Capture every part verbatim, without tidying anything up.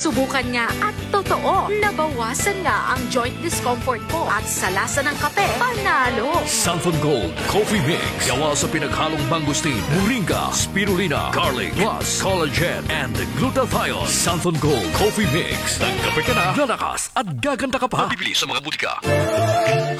Subukan nga at totoo, nabawasan nga ang joint discomfort ko at sa lasa ng kape, panalo. Santhon Gold Coffee Mix. Gawa sa pinaghalong mangosteen, moringa, spirulina, garlic, plus collagen and glutathione. Santhon Gold Coffee Mix. Nagkape ka na, lalakas at gaganda ka pa. Mabibili sa mga butika.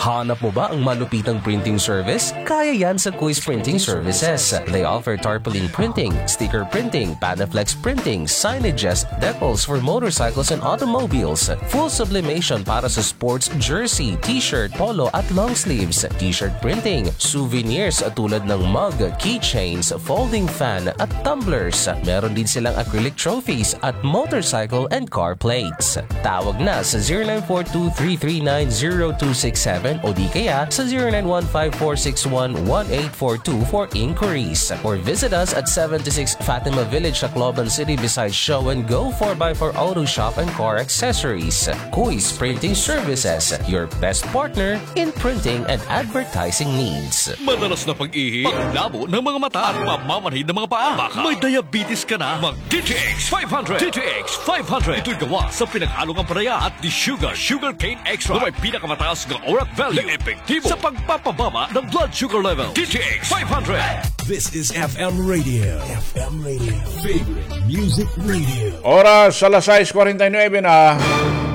Hanap mo ba ang malupitang printing service? Kaya yan sa Kuis Printing Services. They offer tarpaulin printing, sticker printing, Panaflex printing, signages, decals for motorcycles and automobiles, full sublimation para sa sports jersey, t-shirt, polo at long sleeves, t-shirt printing, souvenirs tulad ng mug, keychains, folding fan at tumblers. Meron din silang acrylic trophies at motorcycle and car plates. Tawag na sa zero nine four two three three nine zero two six seven o di kaya sa zero nine one five four six one one eight four two for inquiries. Or visit us at seventy-six Fatima Village, Tacloban City, beside Show and Go four by four Auto Shop and Car Accessories. Kuis Printing Services, your best partner in printing and advertising needs. Madalas na pag-ihi, paglabo ng mga mata, at pamamanhid ng mga paa. Baka may diabetes ka na, mag D T X five hundred. D T X five hundred. Ito'y gawa sa pinaghalong ampalaya at desugar, sugarcane extract, na may pinakamataas na ORAC value na epektibo sa pagpapababa ng blood sugar level. D T X five hundred. This is F M Radio. F M Radio. Favorite Music Radio. Oras, alas sais kwarenta y nuebe na.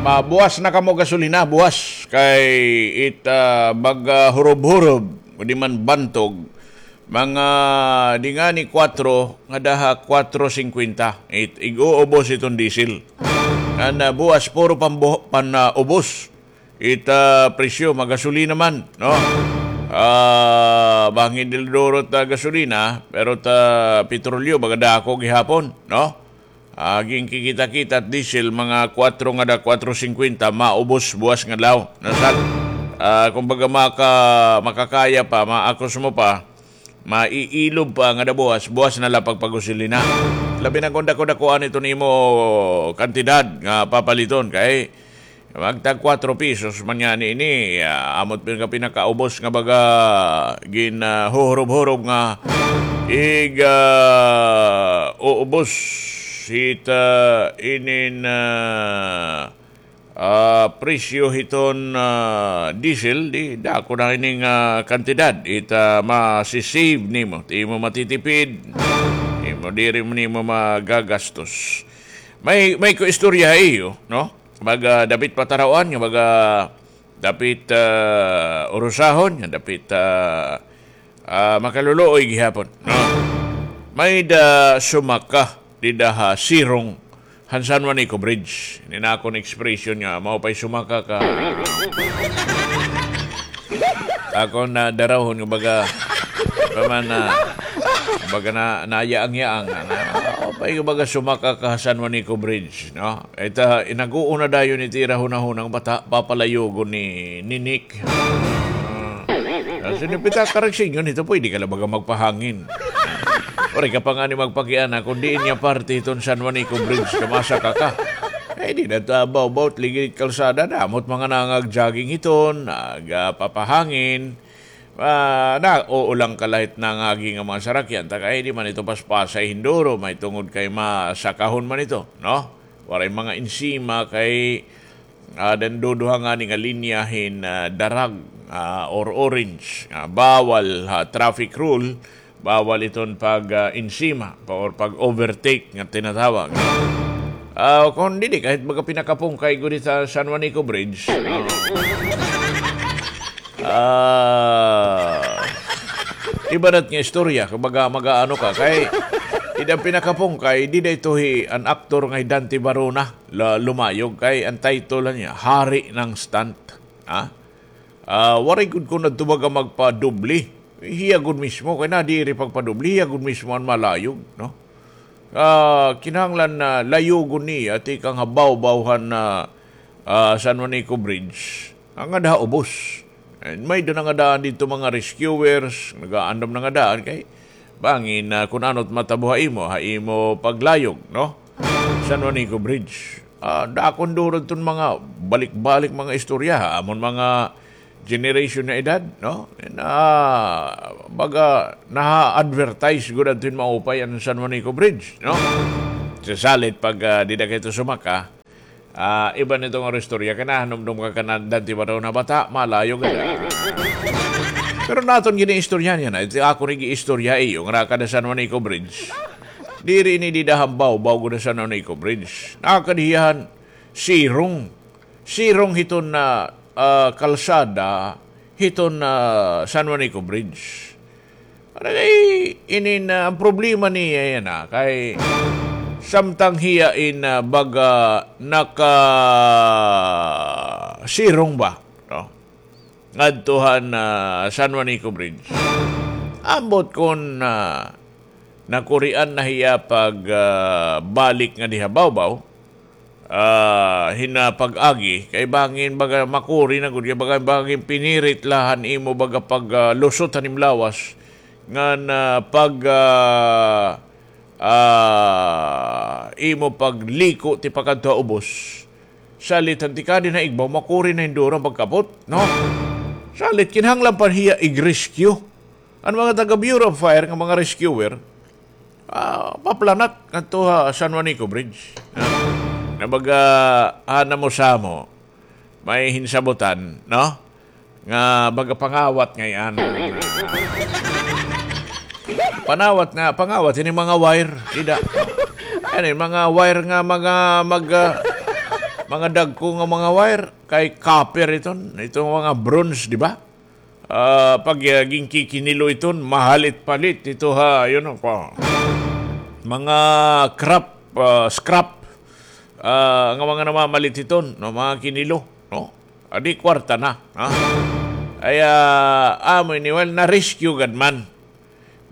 Mabuwas na kamo gasolina, buwas. Kay it, ah, mag, ah, hurob-hurob, o di man bantog. Mga di ngani kwatro, ngada ha kwatro singkwenta. It, ig-uubos iton diesel. Ngan, ah, buwas, puro pambu-, pan, ah, ubos. It, ah, presyo, magasolina man, no? Ah, bangin diri durot ta gasolina, pero ta petrolyo, baga dako gihapon, no? Ah, ginkikita-kita it diesel, mga kwatro ngada kwatro singkwenta, maubos buwas nga adlaw. Nasal, ah, kumbaga maka-, makakaya pa, maakos mo pa, maiilob pa ngada buwas, buwas na la pagpagusilina. Labi na kon dako-dakoan iton imo kantidad nga papaliton, kay magtag kwatro pesos man ngani ini, ah, amo it pinaka-, pinakaubos nga baga gin, ah, huhurob-hurob nga ig, ah, uubos hit, ah, inin, ah, ah, presyo hiton, ah, diesel, di dako na ini nga kantidad it, ah, masi-save nimo, it imo matitipid, imo diri mo nimo magagastos. May, may ko istorya ha iyo, no? Baga dapit patarawan nga baga dapit, ah, urusahon, nga dapit, ah, ah, makaluluoy gihapon, no? May-ada sumaka dida ha sirong han San Juanico Bridge. Ini na akon expression nga, mao pa'y sumaka ka. Akon na darahon nga baga, pa man na, baga na, nayaang-yaang na, na, mao pa'y baga sumaka ka ha San Juanico Bridge, no? Ita, inaguo na dayon iti ira hunahunang bata, papalayugon ni, ni Nick. Ah, sino pita karagsingon ito, pwede ka la baga magpahangin. Waray ka pa ngani magpakiana, kun diin nga parte hiton San Juanico Bridge, ka masaka ka. Eh, di na ta bawbaw, ligid kalsada, damo it mga nangag-jogging hiton, nagpapahangin. Ah, nauulang ka la hit nangagi nga mga sarakyan, ta kay di man ito paspasay hin duro, mahitungod kay masakahon man ito, no? Waray mga ensima kay, ah, aada duduha ngani nga linya hin, ah, darag, ah, or orange. Ah, bawal ha traffic rule, bawal iton pag, ah, ensima pa or pag-overtake nga tinatawag. Ah, kon didi, kahit baga pinakapungkay gud it ha San Juanico Bridge, ah, Ah, iba na it nga istorya, kumbaga, mag-aano ka, kay, it an pinakapungkay, dida ito hi, an aktor nga hi Dante Barona, la-, lumayog, kay, an title niya, Hari ng Stunt. Ha? Ah, waray gud kuno adto baga magpadoble. Hiya gud mismo, kay nadiri pagpadoble, hiya gud mismo an malayog, no? Ah, kinahanglan na layugon niya, tikang ha bawbaw han, ah, ah, San Juanico Bridge. Nangada ha ubos. And may-ada nangadaan didto mga rescuers, nagaandam nangadaan kay bangin, ah, kun ano it matabo ha imo, ha imo paglayog, no? San Juanico Bridge. Ah, dako hin duro iton mga balik-balik mga istorya, ha? Amon mga generation nga edad, no? Na, baga, naha-advertise gud adto hin maupay an San Juanico Bridge, no? Sa salit pag, ah, dida ka hito sumaka, Ah, iba nito nga istorya, kay nahanumdom ka kan andante ba daw nga bata, malayo gad. Pero naton gini istorya niya na, ito ako ni istorya iyo, nga nakada San Juanico Bridge. Diri ini dida han bawbaw gud ha San Juanico Bridge. Nakada hiya han sirong. Sirong hiton na, ah, kalsada, hiton na San Juanico Bridge. Ano kay inin, ah, an problema niya yana, kay samtang hiya in, ah, baga nakasirong ba, no? Ngadto han, ah, San Juanico Bridge. Ambot kon, ah, nakurian na hiya pag, ah, balik nga diha bawbaw, ah, hin, ah, pag-agi, kay bangin baga makuri na gud, kay baga, bangin pinirit la han imo baga pag, ah, lusot han imo lawas, ngan, ah, pag, ah, ah, imo pagliko tipakadto ha ubos. Salit han tikadi na igbaw, makuri na hin duro an pagkapot, no? Salit, kinahanglan pa hiya ig-rescue. An mga taga Bureau of Fire nga mga rescuer, ah, paplanat ngadto ha San Juanico Bridge. Ah, na baga, ah, namo-samo, may hinsabutan, no? Nga baga pangawat ngay-an. Panawat nga, pangawat, ini mga wire, dida. Ano, mga wire nga, mga, mag, ah, mga dagko nga mga wire, kay copper iton, itong mga bronze, di ba? Ah, pag, ah, ginkikinilo iton, mahal it palit ito ha, you know, pa. Mga crap, ah, scrap, ah, nga mga namamalit iton, no, mga kinilo, no? Adi kwarta na, ha? Ay, ah, amo ini, well, na-rescue gad man.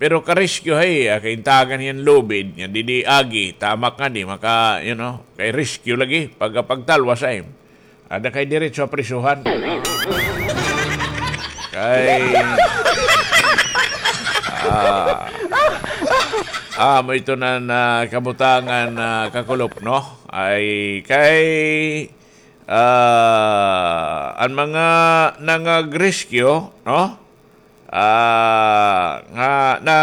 Pero ka-rescue hay, ah, kaintagan hiya han lubid, nga didi agi, tamak nga di maka, you know, kay rescue lagi, pagka pagtalwas ay. Ada kay diretso ha prisuhan. Kay, ah, ah, amo ito na, na kabutangan, na kakulop, no? Ay, kay, ah, an mga nangag-rescue, no? Ah, nga na,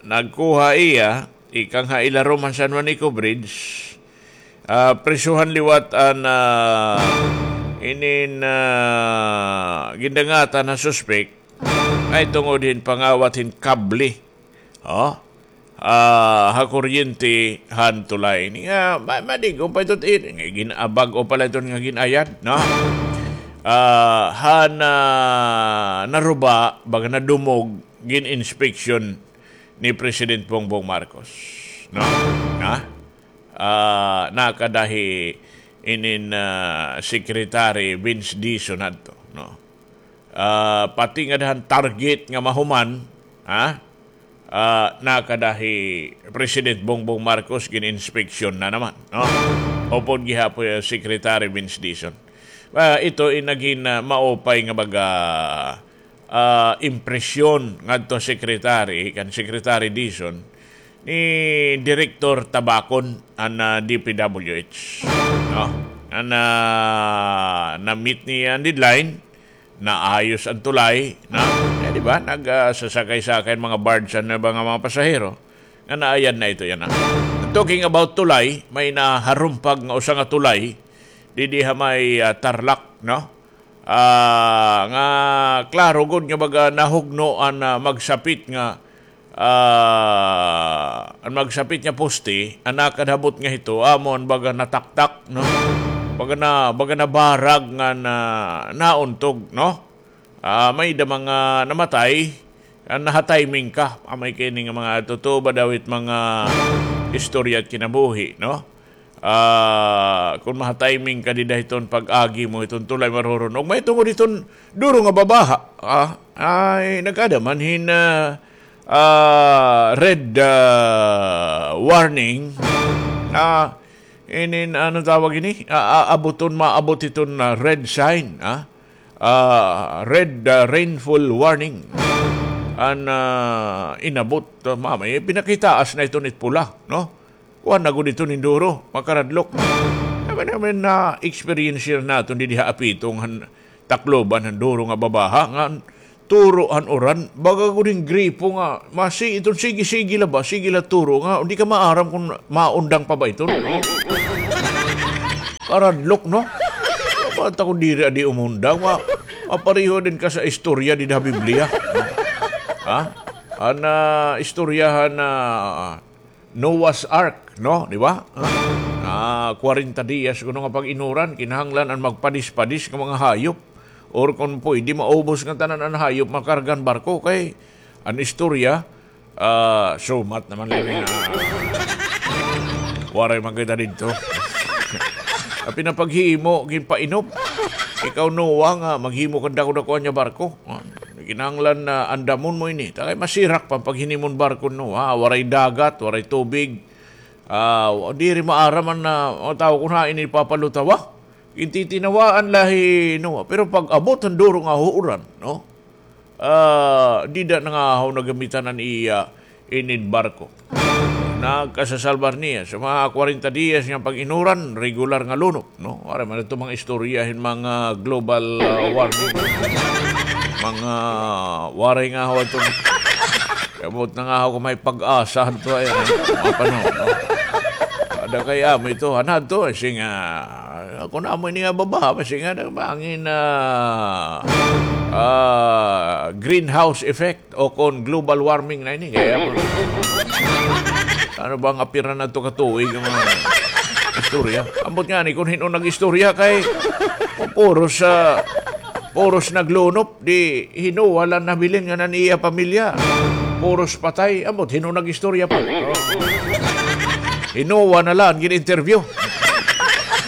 nagkuha iya, ikang ha ilarom han San Juanico Bridge, ah, prisuhan liwat an, ah, inin, ah, gindangatan nga suspek, ay tungod hin pangawat hin kable. Oh? Ah, ha kuryente han tulay. Nga, ma-, madig-on pa ito, eh, nga gin-, ah, bag-o pa la ito nga gin-ayad, no? Ah, han, ah, naruba, baga nadumog, gin-inspection ni President Bongbong Marcos, no? Ha? Ah, nakada hi inin, ah, Secretary Vince Dizon hadto, no? Ah, pati ngada han target nga mahuman, ha? Ah, nakada hi President Bongbong Marcos gin-inspeksyon na naman, no? Upod gihapon hi Secretary Vince Dizon. Ah, ito in nagin, ah, maupay nga baga, ah, impresyon ngadto Secretary, kan Secretary Dizon, ni Director Tabacon an, ah, D P W H, no? An, ah, na-meet niya an deadline, naayos an tulay, no? Eh, di ba? Nag, ah, sasakay-sakay an mga barge, an iba nga mga pasahero, nga naayad na ito yana. Talking about tulay, may naharumpag nga usa nga tulay, didi ha may, ah, Tarlac, no? Ah, nga klaro gud nga baga nahugno an, ah, magsapit nga, ah, an magsapit nga poste, an nakadabot nga hito, amo an baga nataktak, no? Baga na, baga nabarag nga na, nauntog, no? Ah, may-ada mga namatay, ah, naha-timing ka. Ah, may kini nga mga totoo ba daw it mga istorya it kinabuhi, no? Ah, kon maha-timing ka dida hiton pag-agi mo hiton tulay, marurun-og. Mahitungod hiton duro nga babaha, ah, ay nagkada man hin, ah, ah, red, ah, warning. Ah, inin, ano tawag ini? Ah, ah, abuton, maabot hiton, ah, red sign, ah. Ah, red, ah, rainfall warning. An, ah, inabot, ah, mamay, pinakitaas na iton it pula, no? Kuan na gud iton hin duro, makaradlok. Naman, naman na-experience naton didi ha Apitong han Tacloban han duro nga babaha, nga turo han uran, baga gud hin gripo nga, masi iton, sige, sige la ba, sige la turo nga, di ka maaram kon maundang pa ba iton, no? Karadlok, no? Dapat ako diri adi umundang. Ma, mapareho din ka sa istorya di ha Biblia. Ha? An, ah, istorya han, ah, Noah's Ark, no? Di ba? Ah, kwarenta diyas kuno nga pag-inuran, kinahanglan an magpadis-padis nga mga hayop. Or kon pwede, maubos nga tanan an hayop, makarga han barko. Kay, an istorya, ah, sumat naman lagi nga, waray man kita didto. Apin an paghimo, ginpainop. Ikaw, Noah, nga maghimo ka dako-dako niya barko. Ah, kinahanglan na andamon mo ini. Ta kay masirak pa an paghinimo han barko, Noah. Waray dagat, waray tubig. Ah, diri maaram an, ah, mga tawo kon hain ini papalutawa. Gintitinawaan la hi Noah. Pero pag-abot han duro nga uran, no? Ah, dida na nga haw nagamitan an iya inin barko. Nagkasasalbar niya. Sa mga kwarenta diyas nga pag-inuran, regular nga lunop, no? Waray man ito mga istorya hin mga global, ah, warming. Mga waray nga haw ito. Abot na nga haw kon may pag-asa ito ay, ano, mga panahon, no? Ada kay amo ito, anad to, eh, singa, ako na amo ini nga babaha, singa, bangin, ah, ah, greenhouse effect o kon global warming na ini. Kaya, ano ba nga pira na to katuig ang mga istorya? Ambot nga ni, kung hin-o nag-istorya kay, puros, ah, puros naglunop, di hin-o waray nabilin nga nan iya pamilya. Puros patay, ambot hin-o nag-istorya pa. Hin-o na la an gin-interview.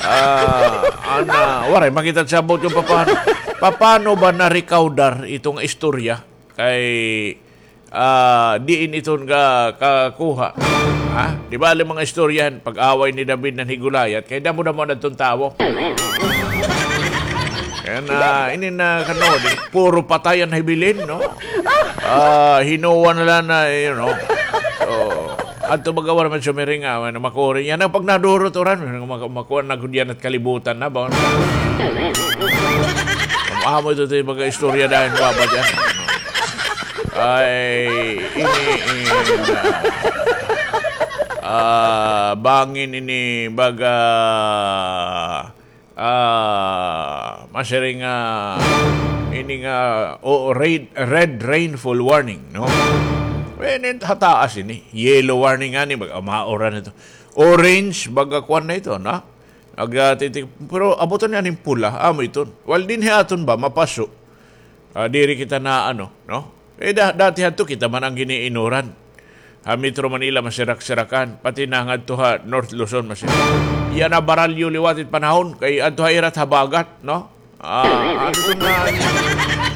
Ah, ana, waray makita sa abot kon papano. Papano ba na-recaudar iton istorya? Kay, ah, diin iton ga-, kakuha? Ha? Di ba, an mga istorya han pag-away ni David ngan hi Goliath? Kay damo-damo na iton tawo. Kay, ah, ini na, kano, di, puro patay an hibilin, no? Ah, hin-o na la na, you know. So, adto baga waray man sumiring, ah, ano, makuri. Yana pag nadurot uran, mak-, makuha na gud yana it kalibutan na, ba? Amo ito, ito, baga istorya dayon, baba diyan. Ay, ini, ini, ah, bangin ini, baga, ah, masiring nga, ini nga, o, red, red rainfall warning, no? Ini ha taas ini, yellow warning ngani, baga mauran ito. Orange, baga kuan na ito, na? Nagatitik, pero abutan niya ning pula, amo iton. Well, dinhi aton ba, mapaso. Ah, diri kita na ano, no? Eh, da-, dati hadto kita man an gin-iinuran. Ha Metro Manila, masirak-sirakan. Pati na ngadto ha North Luzon, masirak. Yana baralyo liwat it panahon, kay adto ha ira it habagat, no? Ah, ano ito na,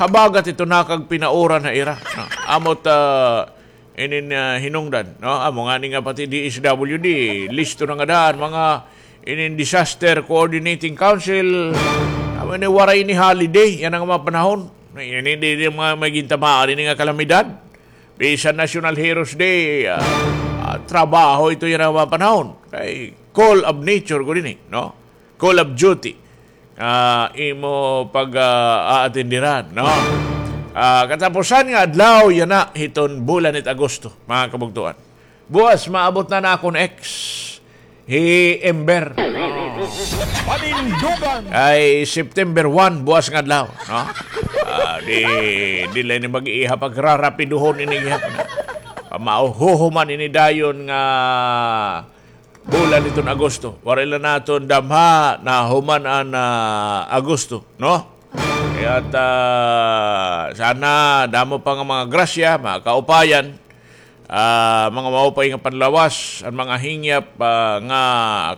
habagat ito nakagpinauran ha ira, no? Amo it, ah, inin, ah, hinungdan, no? Amo ngani nga pati D S W D, listo na ngada an mga inin Disaster Coordinating Council. Amo ini waray ini holiday yana nga mga panahon. Ini, di, di mga may gintamaan ini nga kalamidad. Bisan National Heroes Day, ah, ah, trabaho ito yana nga mga panahon. Kay call of nature gud ini, no? Call of duty. Ah, imo pag, ah, aatendiran, no? Ah, katapusan nga adlaw yana hiton bulan it Agosto, mga kabugtoan. Buwas maabot na an akon ex, hi Ember. Panindugan. Ay, September one, buwas nga adlaw, no? Ah, di, di la ini mag-iiha, pagrarapiduhon ini gihap na. Pamahuhuman ini dayon nga bulan hiton Agosto. Waray la naton damha, nahuman an, ah, Agosto, no? Kay, ah, sana damo pa nga mga grasya, mga kaupayan, ah, mga maupay nga panlawas, an mga hingyap, ah, nga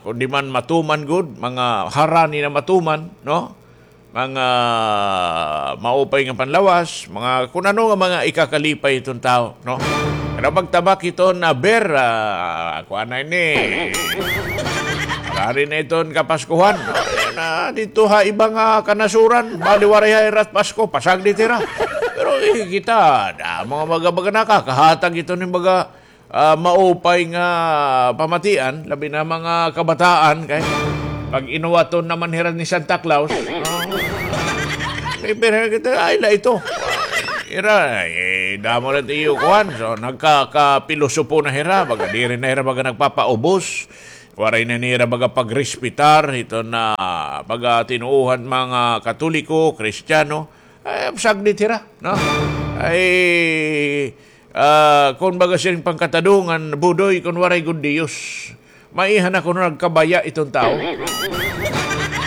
kundi man matuman gud, mga harani na matuman, no? Mga maupay nga panlawas, mga kun ano nga mga ikakalipay hiton tawo, no? Pero pagtabak hiton, ah, Ber, ah, kuan na ini. Harani na iton Kapaskuhan. Na didto ha iba nga kanasuran, bali waray ha ira it Pasko, pasagdi it ira. Pero, eh, kita, damo nga mga baga nakakahatag hiton hin mga ah, maupay nga pamatian, labi na mga kabataan, kay pag-inuwaton naman hira ni Santa Claus, no? Kay pero kita, ay la ito. Ira, eh, damo la it iyo kuan. So, nagkakapilosopo na hira, baga diri na hira, baga nagpapaubos. Waray na nira baga pagrespetar iton, ah, pagkatinuohan mga Katoliko, Kristiyano. Ay, sagdi hira, no? Ay, ah, kon baga siring pangkatadongan, Budoy, kon waray gud Diyos, maiha na kuno nagkabaya iton tawo.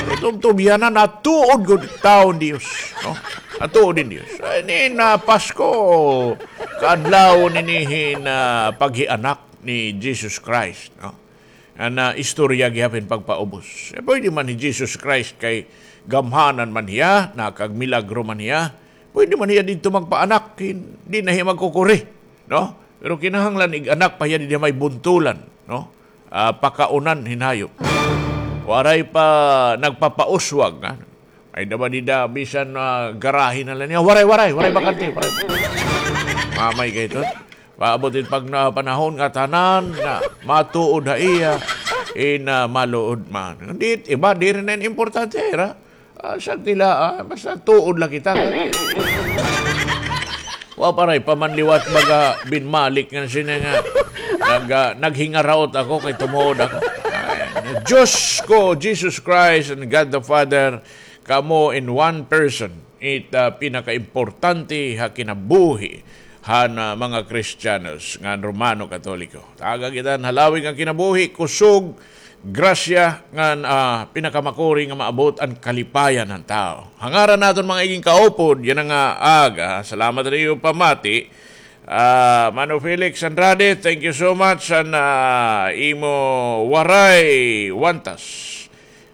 Iton tubyanan, natuod gud tawo hin Diyos, no? Natuod hin Diyos. Ay, ini na Pasko, kaadlaw ini hin, ah, paghianak ni Jesus Christ, no? An, ah, istorya gihapon pagpaubos. Eh, pwede man hi Jesus Christ kay gamhanan man hiya, nakagmilagro man hiya. Pwede man hiya didto magpaanak, hin-, di na hiya magkukuri, no? Pero kinahanglan ig-anak pa hiya didi ha may buntulan, no? Ah, pakaunan hin hayop. Waray pa nagpapauswag, ha? Ay, daba dida, bisan, ah, garahe na la niya. Waray, waray, waray bakante, waray. Mamay kay ito. Paabot it pag na panahon nga tanan nga matuod ha iya, in, ah, maluod man. Hindi, iba, diri na importante, ha? Ah, sagdi la, ah, basta tuod la kita. Wa pa ray pa man liwat baga binmalik ngan sini nga nag-, ah, naghingaraot ako kay tumuod ako. Ay, Diyos ko, Jesus Christ and God the Father, kamo in one person. It, ah, pinakaimportante ha kinabuhi han, ah, mga Kristiyanos ngan Romano Katoliko. Taga kita han halawig nga kinabuhi, kusog, grasya ngan, ah, pinakamakuri nga maabot an kalipayan han tawo. Ha ngaran naton mga iging kaupod yana nga aga, salamat ha iyo pamati. Ah, Mano Felix Andrade, thank you so much han, ah, imo waray wantas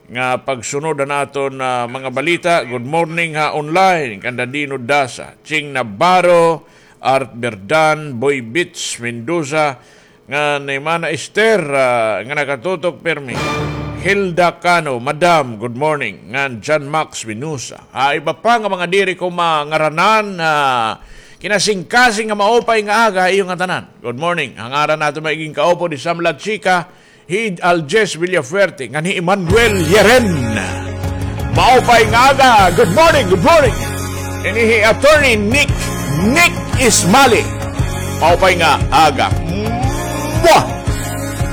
nga pagsunod han aton, ah, mga balita. Good morning ha online kan Dadino Dasa, Ching Navarro, Art Berdan, Boy Beach Mendoza, ngan ni Mana Esther, ah, nga nakatutok pirmi. Hilda Cano, Madam, good morning. Ngan John Max Vinosa. Ah, iba pa nga mga diri ko mangaranan, ah, kinasingkasing nga maupay nga aga ha iyo ngatanan. Good morning. Ha ngaran naton mga iging kaupod, hi Sam La Chica, hi Aljes Villafuerte, ngan hi Emmanuel Yeren. Maupay nga aga. Good morning, good morning. Ini hi Attorney Nick, Nick Ismali. Maupay nga aga. Mwah!